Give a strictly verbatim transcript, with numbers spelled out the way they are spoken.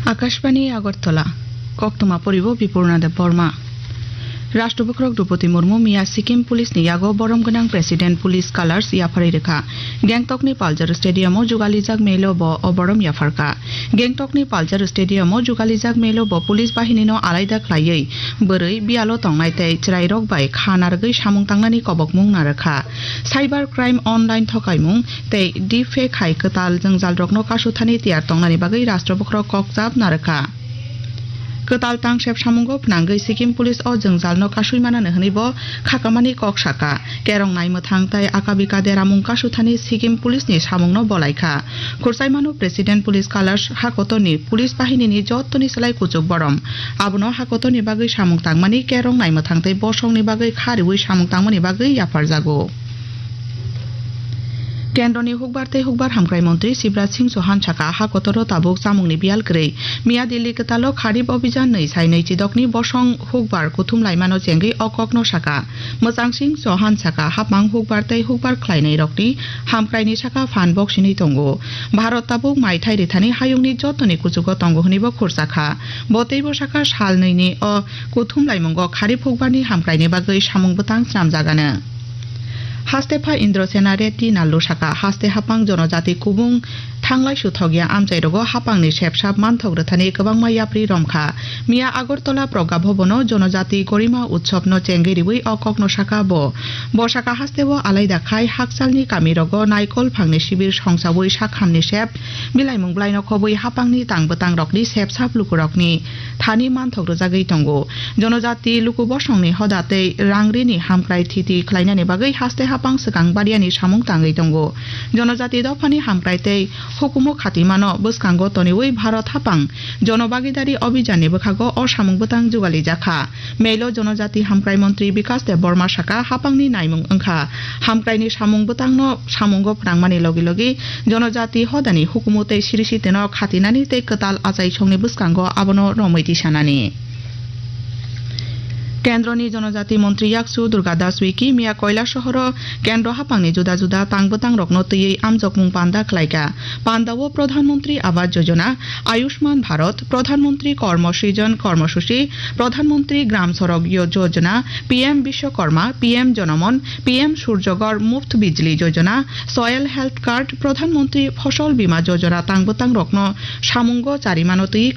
Akashbani Agartala, koktwma poribo Bipurna Debbarma. Rashtrapati Droupadi Murmu miya Sikkim Police ni yago borom gwnang President Police Colors yapharwi rwkha. Gangtok ni Palchar Stadium o jugalijak melo bo o borom yapharkha. Gangtok ni Palchar Stadium o jugalijak melo bo police bahini no alaida khlaiwi bwrwi biyalo tongnai tei chwrairok bai kha narwgwi samung tangnani kobokmung narwkha. Cyber crime, online thokaimung tei deepfake hai kwtal jwngjalrokno kasuthani tiyar tongnani bagwi rashtrapati kokchap narwkha. Kwtal tangsep samungo phnangwi Sikkim Police o jwngjalno kasui manani hwnwi bo khakamani kok saka. Kerong naimwthang tei akabika deramung kasuthani Sikkim Police ni samungno bolaikha. Khursaimano President Police Colors hakotorni police bahinini jottoni slai kuchuk borom. Abono hakotorni bagwi samung tangmani kerong naimwthang tei bosongni bagwi kha riwi samung tangmani bagwi yapharjago. Kendroni hukbar tei hukbar hamkrai montri Shivraj Singh Chauhan saka, ha kotoro tabuk chamungni biyal kwrwi. Miya Delhi kwtalo Kharif Abhijan nwi sai nwi chidokni bosong hukbar kuthum laimano chengwi o kokno saka. Mwchang Singh Chauhan saka, hapmang hukbar tei hukbar khlainairokni hamkraini saka phan bok sinwi tongo. Bharat tabuk maithai rithani hayungni jotoni kuchugo tongo hwnwi bo khursa kha. Bo teibo saka sal nwini o kuthum laimungo Kharif hukbarni hamkraini bagwi samung bwtang snamjagano. Haste pha Indrasena Reddy Nallu saka, haste hapang jonojati kubung thanglai suthokya amchairogo hapangni sepsap manthok rwthani kwbangma yapri romkha. Miya Agartala Pragya Bhavan-o Jonojati Gorima Utsav-no chengwi riwi o kokno saka bo. Bo saka hasteo alaida khai hakchalni kamirogo naikol phangni sibir songsawi sakhamni sep, bilaimung bwlaino khobwi hapangni tang bwtangrokni sepsap lukurokni thani manthok rwjagwi tongo. Jonojati luku bosongni hoda tei rangrini hamkrai thiti khlainani bagwi haste hapang swkang bariani samung tangwi tongo. Jonojati dophani hamkrai tei hukumu khatimano bwskango toniwi Bharat hapang Jonobhagidari Abhijanni bwkhago o samung bwtang jugalijak kha. Melo Jonojati Hamkrai Montri Bikas Debbarma saka, hapangni naimung wngkha. Hamkraini samung bwtangno samungo phrangmani logi logi Jonojati hodani hukumu tei siri sitino khatinani tei kwtal achaisongni bwskango abono romwi tisanani. Kendroni Jonojati Montri Yaksu Durga Das Uiki miya Koilasohoro Kendro hapangni juda juda tang bwtangrokno twiwi amjokmung panda khlaikha. Pandao Pradhan Montri Awas Yojana, Ayushman Bharat, Pradhan Montri Karma Srijan Karma Suchi, Pradhan Montri Gram Sadak Yo-, Yojana, P M Vishwakarma, P M Janaman, P M Surya Ghar Muft Bijli Yojana, Soil Health Card, Pradhan Montri Fasal Bima Yojana tang bwtangrokno samungo charimano twiwi